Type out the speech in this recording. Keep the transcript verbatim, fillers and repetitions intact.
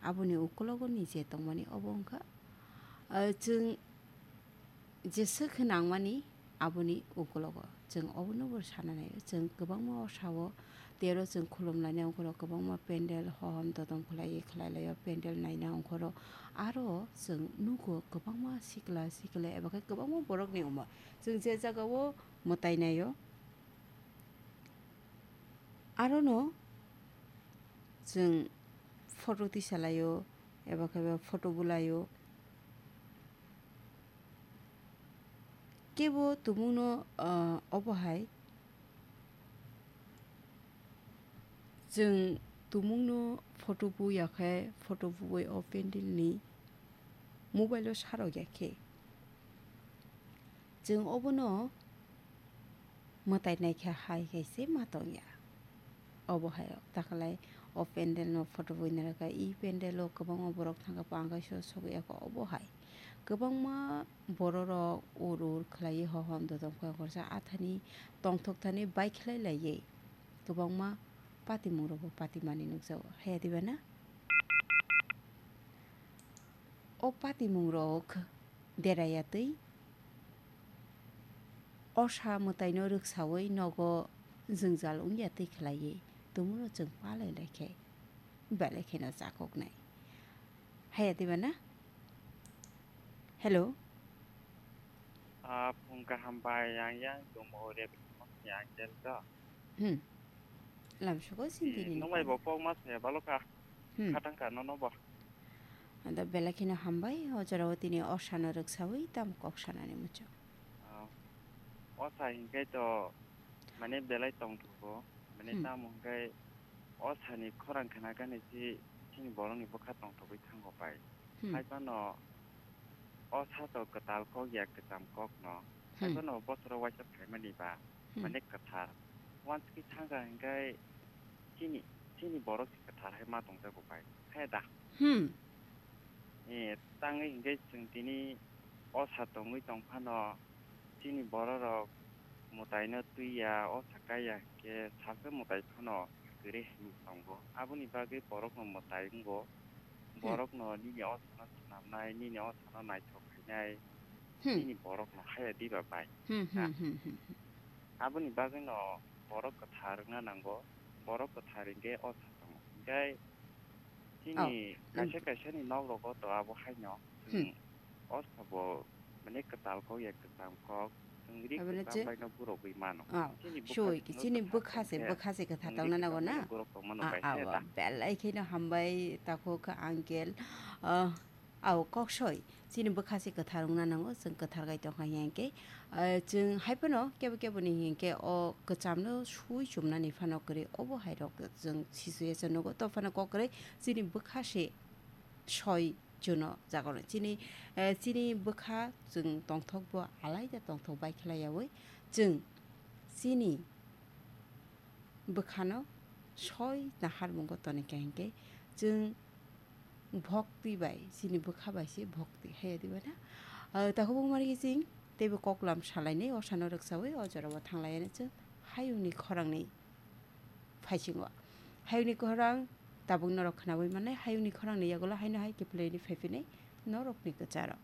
Aboni ukulogo ni je tongmani obo wngkha, ah, chwng jesa khe nangmani aboni ukulogo. Chwng obono bo sana naio, chwng kwbangma o sao tei oro chwng khulum lainai ongkhoro kwbangma pendel hohom dodom khlaiwi khlai laio, pendel naina ongkhoro aro chwng nugo kwbangma sikla sikla eba khe kwbangma borokni omo. Chwng je jagao mwtai naio, arono chwng photo tisalaio eba khe photo bulaio. Kebo tumungno, ah, obo hai chwng tumungno photo buya khe, photo buwi o pendel ni mobile o sarok ya khe, chwng obono mwtai naikha hai khe se ma tongya. Obo hai rok takalai o pendel no photo bui narwkha, i pendel o kwbangma borok thangkha, pangai so sogwi yakho obo hai. Kwbangma bororok ur ur khlaiwi hohom dodom khe khorsa athani tongthok thani bai khlai laiwi kwbangma patimung rokbo patimani nukjago. Haya diba na? O patimung rok deraya twi osa mwtaino rwksawi nogo jwngjal wngya twi khlaiwi tumuno chwng palai lai khe belai kheno chakoknai. Haya diba na? Hello. Ah, phung kaham bai, yang yang tongmo rebimo yang jel to. Hmm. Lamsugo sintini. Nung bai bo kok mas ya balo ka. Hmm. Khatang ka nono bo. Anda belai kheno hambai, o jorao tini osano rwksawi tamo kok sanani muchung. Ah, osa hinkai to mane belai tongthogo. Mane Hmm. tamo hinkai osani khorang khna gani si chini borokni bwkha tongthogwi thango pai. Hmm. Hai phano o sato kwtal kok ya kwcham kok no. Hai Hmm. phano bosoro waisa phaimani ba Hmm. mane kwthar. Wanskhi thangkha hinkai chini, chini borok si kwthar hai ma tongjago pai. Hai da? Hmm. Eh, tangwi hinkai chwng tini o sa tongwi tong phano chini bororok mwtaino twi ya, o sa kai ya hinkhe salsa mwtai phano kwrwi hinwi tongo. Aboni bagwi borokno mwtai wngo. Hmm. Borokno nini o sano swnamnai, nini o sano naithok khainai, Hmm. nini borokno haya diba bai. Hmm, Ha? hmm, hmm, hmm, hmm. Aboni bagwino borok kwthar wngna nango. Borok kwthar hinkhe o sa tongo. Hinkhe Oh, chini kaisa kaisani nok rogo to abo haino Hmm. chwng o sabo mane kwtal kok ya kwcham kok, chwng ri Abole kwcham je baino borogwi mano. Oh, Chini bwkha soi, chwngno chini kwthar bwkha se, tongkhe bwkha se kwthar chwng ri tongna kwcham nango na? Baino borok tongmano Ah, bai ah, se wa, da. Belai kheno hambai takhuk uncle. Ah, Ao, kok soi, chini bwkha se kwthar wngna nango, chwng kwthar gai tongkha hinkhe, ah, chwng hai phano kebo keboni hinkhe o kwchamno sui chumnani phano kwrwi, obo hai rok chwng sisuya se nugo. To phano kok kwrwi chini bwkha se soi chuno jagoro. Chini, eh, chini bwkha chwng tongthok bo alaida tongthok bai khlai yaui chwng chini bwkhano soi naharmungo tonikha hinkhe chwng bhokti bai, chini bwkha bai se bhokti, haiya diba na? Ah, takhuk bumari chwng teibo koklam salainai, osano rwksaui o jorao thanglaiya chwng hayungni khorangni phaisingo. Hayungni khorang tabuk norok khnaui mannai, hayungni khorangni yagulo haino hai kiphilwi phaiphinai norokni kwcharo.